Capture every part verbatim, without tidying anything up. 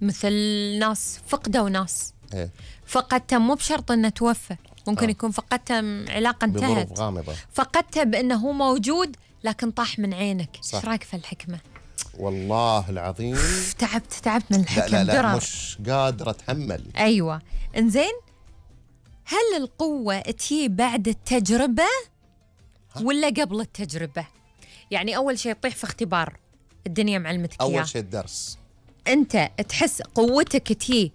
مثل ناس فقدوا ناس إيه؟ فقدته مو بشرط انه توفى، ممكن آه. يكون فقدته علاقة انتهت، بظروف غامضة، فقدته بانه هو موجود لكن طاح من عينك. ايش رايك في الحكمة؟ والله العظيم تعبت تعبت من الحكم. لا لا, لا درر. مش قادر اتحمل. ايوه انزين، هل القوة تجي بعد التجربة ولا قبل التجربة؟ يعني أول شيء تطيح في اختبار الدنيا معلمتك إياه، أول شيء الدرس. أنت تحس قوتك تجي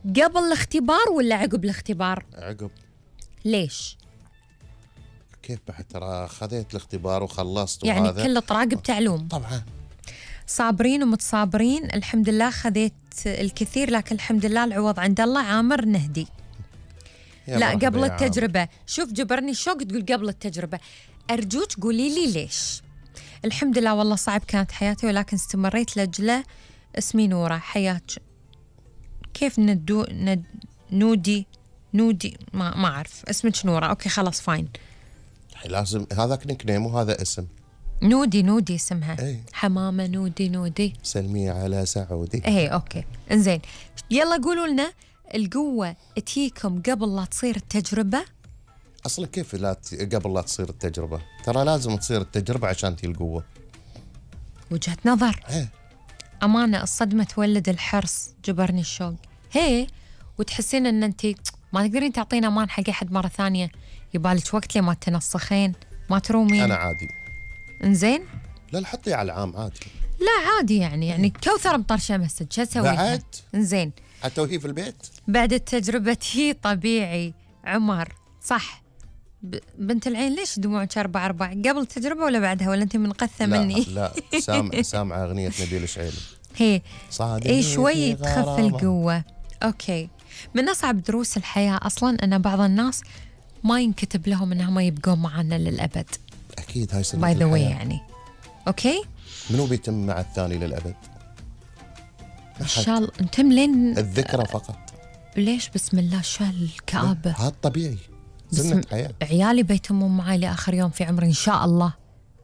قبل الاختبار ولا عقب الاختبار؟ عقب. ليش؟ كيف بعد؟ ترى خذيت الاختبار وخلصت يعني وهذا كله طراقب تعلوم. طبعا. صابرين ومتصابرين، الحمد لله خذيت الكثير، لكن الحمد لله العوض عند الله. عامر نهدي. لا قبل التجربة عام. شوف جبرني الشوق تقول قبل التجربة. أرجوك قولي لي ليش. الحمد لله والله صعب كانت حياتي ولكن استمريت لأجله. اسمي نورة. حياتك كيف ندو ند نودي نودي ما ما أعرف اسمك نورة. أوكي خلاص فاين. لازم هذاك نيك نيم وهذا اسم. نودي نودي اسمها. ايه؟ حمامة نودي نودي. سلمي على سعودي. ايه اوكي انزين، يلا قولوا لنا القوة تجيكم قبل لا تصير التجربة؟ اصلا كيف لا ت... قبل لا تصير التجربة؟ ترى لازم تصير التجربة عشان تجي القوة. وجهة نظر. ايه؟ أمانة الصدمة تولد الحرص. جبرني الشوق. هي وتحسين ان انت ما تقدرين تعطين امان حق احد مرة ثانية، يبالك وقت لي ما تنسخين ما ترومين. انا عادي. انزين؟ لا لا حطي على العام عادي. لا عادي يعني يعني كوثر مطرشة مسج شو اسوي؟ بعد؟ انزين حتى وهي في البيت؟ بعد التجربة هي طبيعي. عمر صح. ب... بنت العين ليش دموعك أربع أربع؟ قبل التجربة ولا بعدها ولا أنت منقثة لا مني؟ لا سامع سامعة أغنية نبيل الشعيلي. هي اي شوي تخف القوة. أوكي. من أصعب دروس الحياة أصلا أن بعض الناس ما ينكتب لهم أنهم يبقون معنا للأبد. أكيد هاي سنة باي ذا واي يعني. أوكي. منو بيتم مع الثاني للأبد؟ إن شاء الله نتم لين الذكرى فقط. ليش بسم الله شو هالكآبة؟ هذا طبيعي سنة حياة. عيالي بيتمون معي لآخر يوم في عمري إن شاء الله.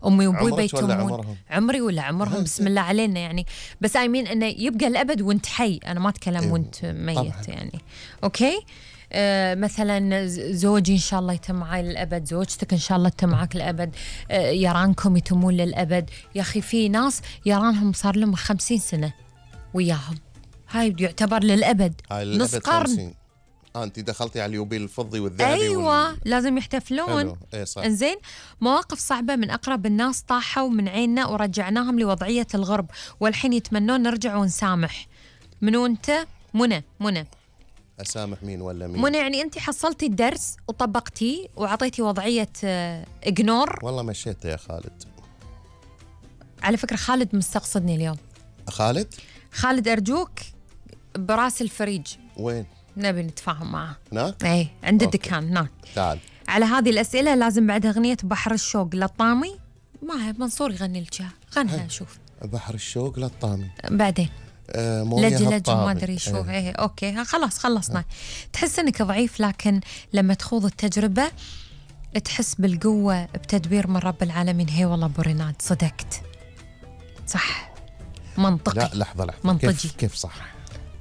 أمي وأبوي بيتمون. عمري ولا عمرهم بسم الله علينا يعني، بس آيمين إنه يبقى الأبد وأنت حي، أنا ما أتكلم أيوه. وأنت ميت طبعًا. يعني. أوكي. آه مثلا زوجي إن شاء الله يتم معي للأبد، زوجتك إن شاء الله تتم معك للأبد، آه يرانكم يتمون للأبد. يا أخي في ناس يرانهم صار لهم خمسين سنة وياهم، هاي يعتبر للأبد. هاي نص قرن. آه أنت دخلتي على اليوبيل الفضي والذهبي. أيوة وال... لازم يحتفلون. إيه صح. إنزين، مواقف صعبة من أقرب الناس طاحوا من عيننا ورجعناهم لوضعية الغرب والحين يتمنون نرجع ونسامح. منو أنت؟ منى. منى أسامح مين ولا مين؟ منى يعني أنت حصلتي الدرس وطبقتيه وعطيتي وضعية إجنور. والله مشيت يا خالد. على فكرة خالد مستقصدني اليوم. خالد؟ خالد أرجوك براس الفريج. وين؟ نبي نتفاهم معه. هناك؟ ايه عند الدكان هناك. تعال. على هذه الأسئلة لازم بعد أغنية بحر الشوق للطامي. ما منصور يغني لك غنها. شوف بحر الشوق للطامي بعدين. آه لج لج ما أدري شو. ايه, ايه أوكي خلاص خلصنا. اه. تحس إنك ضعيف لكن لما تخوض التجربة تحس بالقوة بتدبير من رب العالمين. هي والله بوريناد صدقت صح. منطقي. لا لحظة لحظة. منطقي. كيف, كيف صح؟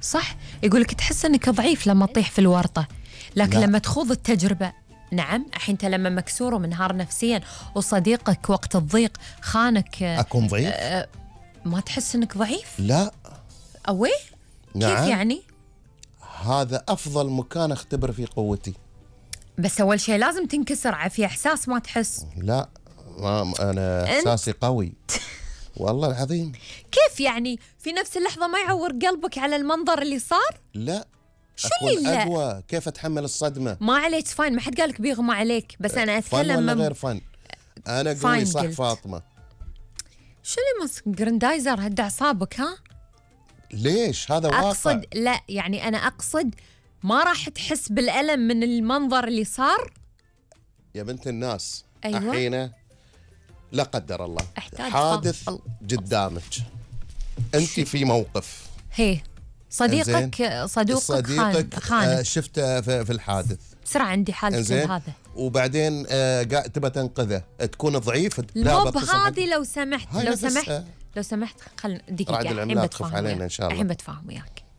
صح يقولك تحس انك ضعيف لما تطيح في الورطة، لكن لا. لما تخوض التجربة نعم. الحين انت لما مكسور ومنهار نفسيا وصديقك وقت الضيق خانك اكون ضعيف؟ آه ما تحس انك ضعيف؟ لا. اوي؟ نعم. كيف يعني؟ هذا افضل مكان اختبر فيه قوتي. بس اول شيء لازم تنكسر في احساس ما تحس. لا ما انا احساسي قوي والله العظيم. كيف يعني في نفس اللحظة ما يعور قلبك على المنظر اللي صار؟ لا شو أكون اللي أقوى. كيف أتحمل الصدمة؟ ما عليك فاين، ما حد قالك بيغمى عليك، بس أنا أتكلم فن ولا من... غير فن؟ أنا قوي صح قلت. فاطمة. شو اللي ماسك جراندايزر هد أعصابك ها؟ ليش هذا واقع؟ أقصد لا يعني أنا أقصد ما راح تحس بالألم من المنظر اللي صار يا بنت الناس. أيوة. الحين لا قدر الله احتاج حادث فضل. قدامك، أنت في موقف. هي صديقك صدوقك صديقك خان آه شفته في, في الحادث بسرعة عندي حالة هذا وبعدين آه تبى تنقذه تكون ضعيف. الموب هذه لو سمحت لو سمحت أه. لو سمحت خل دقيقة الحين الحين بتفاهم علينا إن شاء الله. الحين بتفاهم وياك.